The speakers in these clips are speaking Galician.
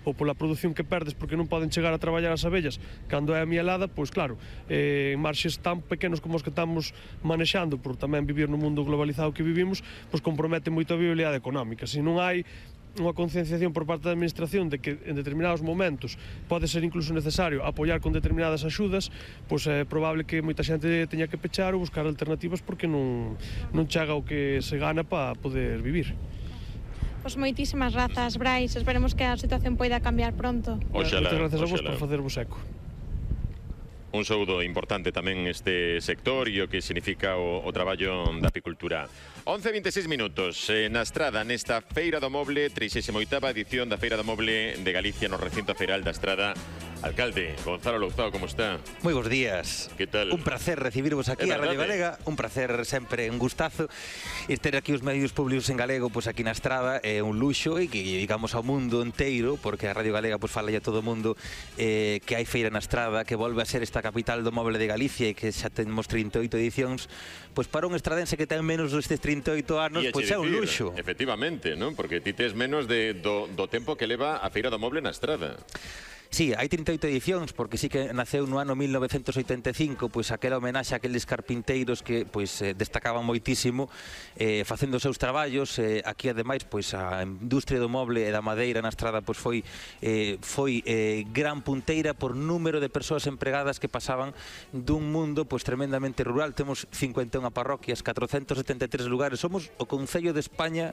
ou pola produción que perdes porque non poden chegar a traballar as abellas cando é a mielada, pois claro, marxes tan pequenos como os que estamos manexando por tamén vivir no mundo globalizado que vivimos, pois compromete moito a viabilidade económica. Se non hai unha concienciación por parte da administración de que en determinados momentos pode ser incluso necesario apoiar con determinadas axudas, pois é probable que moita xente teña que pechar ou buscar alternativas porque non chega o que se gana para poder vivir. Pois moitísimas grazas, Brais, esperemos que a situación poida cambiar pronto. Moitas grazas a vos por facervos eco. Un saúdo importante tamén este sector e o que significa o traballo da apicultura. 11:26 minutos na Estrada, nesta Feira do Moble, 38ª edición da Feira do Moble de Galicia no recinto feiral da Estrada. Alcalde, Gonzalo Louzao, como está? Moi bons días. Que tal? Un placer recibirvos aquí a Radio Galega, un placer sempre, un gustazo. E ter aquí os medios públicos en galego, pois aquí na Estrada, é un luxo e que digamos ao mundo inteiro, porque a Radio Galega pois fala a todo o mundo que hai feira na Estrada, que volve a ser esta capital do moble de Galicia e que xa temos 38 edicións, pois para un estradense que ten menos destes 38 anos, pois é un luxo. Efectivamente, non? Porque ti tes menos do tempo que leva a Feira do Moble na Estrada. Sí, hai 38 edicións, porque sí que naceu no ano 1985, pois aquela homenaxe a aqueles carpinteiros que pois destacaban moitísimo facendo os seus traballos. Aquí ademais pois a industria do moble e da madeira na Estrada pois foi gran punteira por número de persoas empregadas que pasaban dun mundo pois tremendamente rural. Temos 51 parroquias, 473 lugares. Somos o concello de España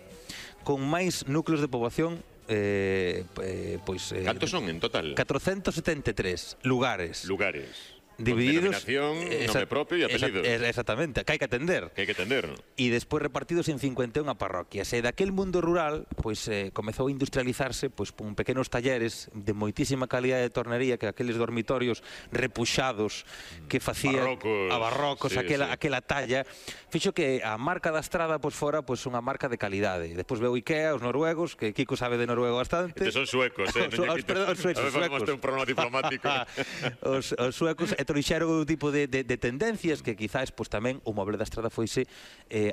con máis núcleos de poboación. Cantos son en total? 473 lugares. Divididos, con denominación, nome propio e apelido. Exactamente, que hai que atender. E despois repartidos en 51 parroquias. E daquel mundo rural, pois comezou a industrializarse pois con pequenos talleres de moitísima calidade de tornería, que aqueles dormitorios repuxados que facían barrocos, aquela talla, fixo que a marca da Estrada pois fora pois unha marca de calidade. Despois veu Ikea, os noruegos, que Kiko sabe de noruego bastante. Estes son suecos, Perdón, os suecos. A ver, vamos ter un problema diplomático. Os suecos trouxeron un tipo de tendencias que quizás pois tamén o moble da Estrada foise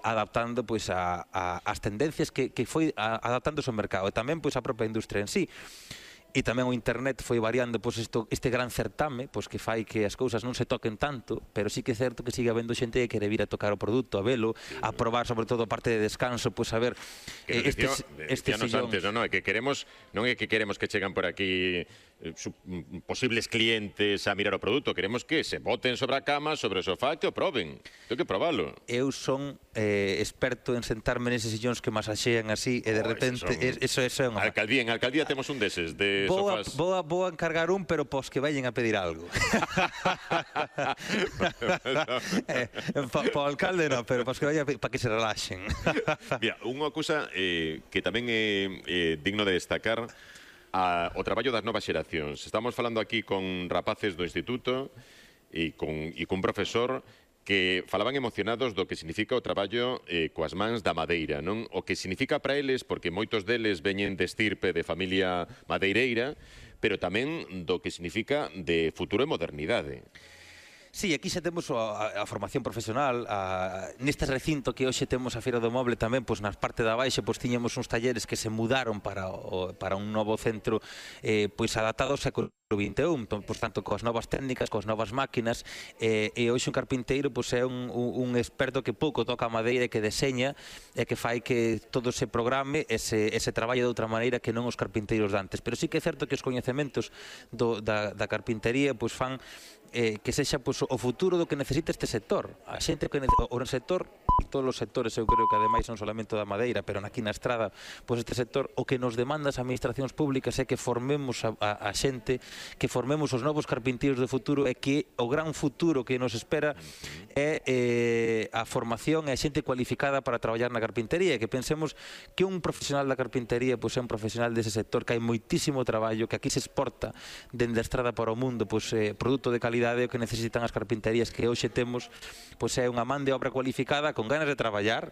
adaptando pois ás tendencias que foi adaptándose ao mercado e tamén pois a propia industria en sí. E tamén o internet foi variando pois este gran certame pois que fai que as cousas non se toquen tanto, pero sí que é certo que sigue habendo xente que quere vir a tocar o produto, a velo, a probar sobre todo a parte de descanso, pois a ver estes antes, non é que queremos, non é que queremos que chegan por aquí posibles clientes a mirar o produto, queremos que se boten sobre a cama, sobre o sofá, que o proben. Ten que probalo. Eu son experto en sentarme neses sillóns que masaxean así e de repente eso é unha... En Alcaldía temos un deses de sofás. Vou a encargar un, pero pos que vayan a pedir algo. Para o alcalde non, pero pos que vayan para que se relaxen. Mira, unha cousa que tamén é digno de destacar, o traballo das novas xeracións. Estamos falando aquí con rapaces do instituto e cun profesor que falaban emocionados do que significa o traballo coas mans da madeira, non? O que significa para eles, porque moitos deles veñen de estirpe de familia madeireira, pero tamén do que significa de futuro e modernidade. Sí, aquí xa temos a formación profesional. Neste recinto que hoxe temos a Feira do Moble tamén, pois na parte da baixa, pois tiñamos uns talleres que se mudaron para un novo centro pois adaptado ao século XXI, pois tanto coas novas técnicas, coas novas máquinas, e hoxe un carpinteiro pois é un experto que pouco toca a madeira e que deseña e que fai que todo se programe e se traballe de outra maneira que non os carpinteiros de antes. Pero sí que é certo que os coñecementos da carpintería pois fan que sexa pois, o futuro do que necesita este sector. A xente que o sector, todos os sectores, eu creo que ademais non solamente da madeira, pero aquí na Estrada, pois este sector, o que nos demanda as administracións públicas é que formemos a xente, que formemos os novos carpinteiros do futuro e que o gran futuro que nos espera é a formación e a xente cualificada para traballar na carpintería, e que pensemos que un profesional da carpintería pois é un profesional dese sector, que hai moitísimo traballo, que aquí se exporta dende a Estrada para o mundo pois produto de calidade. O que necesitan as carpinterías que hoxe temos pois é unha man de obra cualificada con ganas de traballar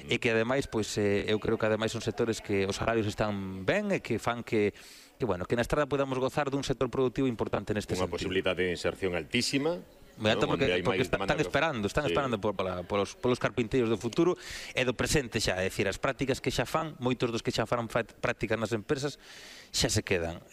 e que ademais pois eu creo que ademais son sectores que os salarios están ben e que fan que na Estrada podamos gozar dun sector productivo importante neste sentido. Unha posibilidade de inserción altísima. Porque están esperando polos carpinteiros do futuro e do presente xa, é dicir, as prácticas que xa fan, moitos dos que xa fan prácticas nas empresas xa se quedan.